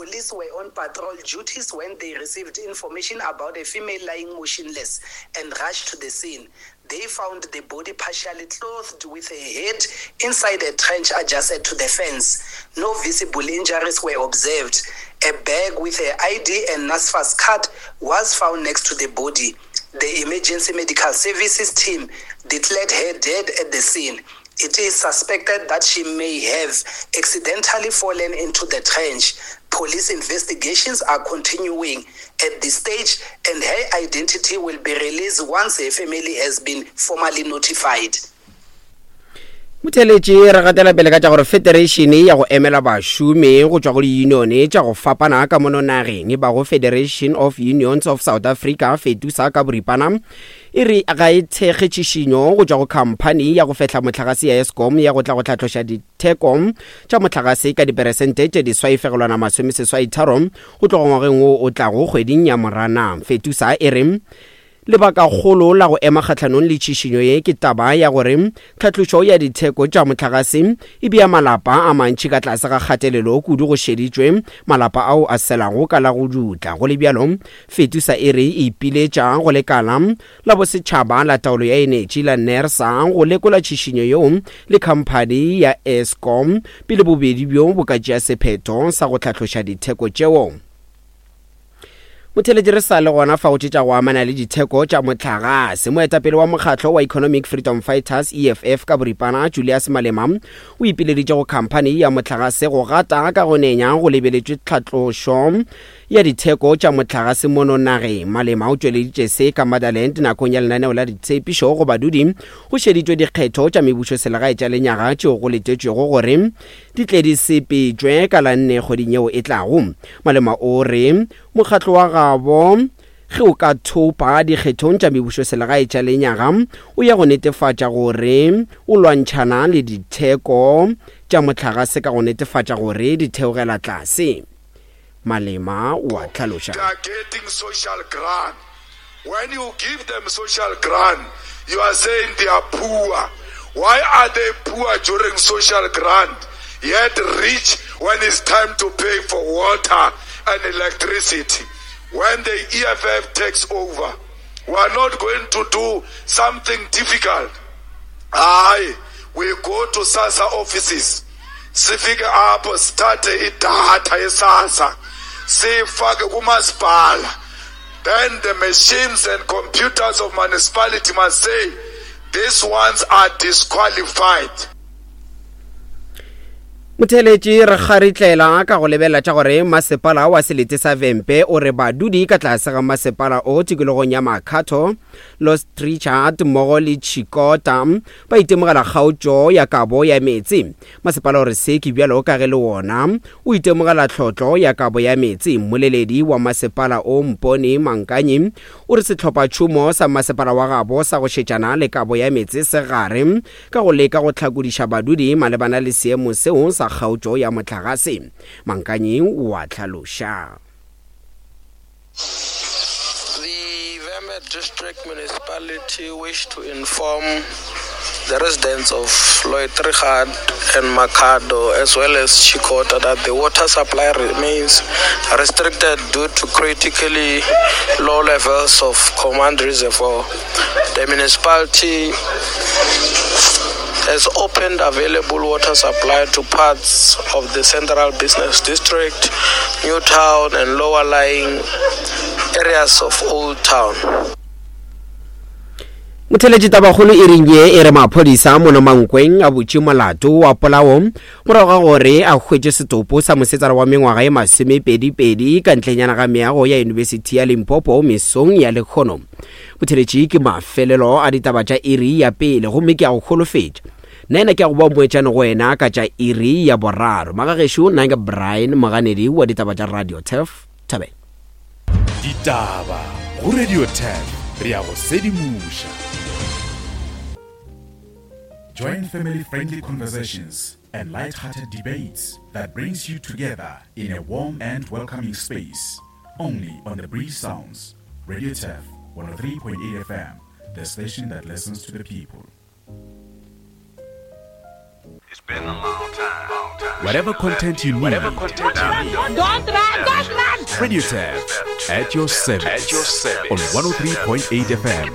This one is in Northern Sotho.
Police were on patrol duties when they received information about a female lying motionless and rushed to the scene. They found the body partially clothed with her head inside a trench adjacent to the fence. No visible injuries were observed. A bag with her ID and NASFAS card was found next to the body. The emergency medical services team declared her dead at the scene. It is suspected that she may have accidentally fallen into the trench. Police investigations are continuing at this stage and her identity will be released once her family has been formally notified. Motheeletši re gatela pele ka tša gore federation ya go emela bašomi go tšwa go diyunione tša go fapana ka mono nageng e bago Federation of Unions of South Africa, FETUSA ka boripana, e re ga e thekge tšhišinyo go tšwa go khamphani ya go fehla mohlagase ya Eskom ya go tla go hlatloša ditheko tša mohlagase ka diperesente tše diswai fegelwana masomesesaitharo go tloga ngwageng wo o tlago kgweding ya Moranang. Fetusa e re lebakakgolo la go ema kgahlanong le tšhišinyo ye ke taba ya gore tlhatlošo ya ditheko tša mohlagase e bea malapa a mantši ka tlase ga kgatelelo kudu go šeditšwe malapa ao a selago ka la go dutla. Go le bjalo, Fetusa e re e ipiletša go lekala la bosetšhaba la taolo ya enetši la NERSA go lekola tšhišinyo yeo le khamphani ya Eskom pele bobedi bjo bo ka tšea sephetho sa go tlhatloša ditheko tšeo. Motheeletši re sa le gona fa go tše tša go amana le ditheko tša mohlagase. Moetapele wa mokgatlo wa Economic Freedom Fighters, EFF, ka boripana, Julius Malema, o ipileditše go khamphani ya mohlagase go gata ka go nenya go lebeletšwe tlhatlošo ya ditheko tša mohlagase mono nageng. Malema o tšweleditše se ka Motherland nakong ya lenaneo la ditshepišo go badudi go šeditšwe dikgetho tša mebušoselegae tša lenyaga tšeo go letetšwego gore di tle di sepetšwe ka la nne kgweding yeo e tlago. Malema o re mokgatlo wa gabo ge o ka thopa dikgethong tša mebušoselegae tša lenyaga o ya go netefatša gore o lwantšhana le ditheko tša mohlagase ka go netefatša gore di theogela tlase. Malema o a hlaloša. They are getting social grant. When you give them social grant, you are saying they are poor. Why are they poor during social grant, yet rich when it's time to pay for water and electricity? When the EFF takes over, we are not going to do something difficult. Aye, we go to SASSA offices. Sifike apho sithathe idatha yeSASSA siyifake kumasipala. Then the machines and computers of municipality must say these ones are disqualified. Motheeletši re kgaritlela ka go lebelela tša gore masepala wa selete sa Vhembe o re badudi ka tlase ga masepala o tikologong ya Makhado, Los Trichardt mmogo le Tshikota ba itemogela kgaotšo ya kabo ya meetse. Masepala o re se ke bjalo ka ge le wona o itemogela tlhotlo ya kabo ya meetse. Mmoleledi wa masepala o Mpone Mankanyi o re sehlophatšhomo sa masepala wa gabo sa go šetšana le kabo ya meetse se gare ka go leka go hlakodiša badudi malebana le seemo seo sa kgaotšo ya mohlagase. Mankanyi o a hlaloša. The Vhembe District Municipality wish to inform the residents of Loitrigad and Makhado as well as Tshikota that the water supply remains restricted due to critically low levels of command reservoir. The municipality has opened available water supply to parts of the central business district, New Town and lower lying areas of Old Town. Motheletši tabakgolo e reng ye e re maphodisa mono Mankweng a butše molato wa polao morago ga gore a hwetše setopo sa mosetsana wa mengwaga e masomepedipedi ka ntlenyana ga meago ya Yunibesithi ya Limpopo mesong ya lekgono. Motheletši ke mafelelo a ditaba tša iri ya pele gomme ke a go holofetša nna ena ke a go ba moetšane go wena ka tša iri ya boraro. Magagešo nna ke Brian Moganedi wa ditaba tša Radio Turf Thabela. Ditaba go Radio Turf re ya go sedimoša. Join family friendly conversations and light-hearted debates that brings you together in a warm and welcoming space only on the Breeze Sounds Radio Turf 103.8 FM, the station that listens to the people. Whatever content you need. Don't run! Radio Turf at your service on 103.8 FM.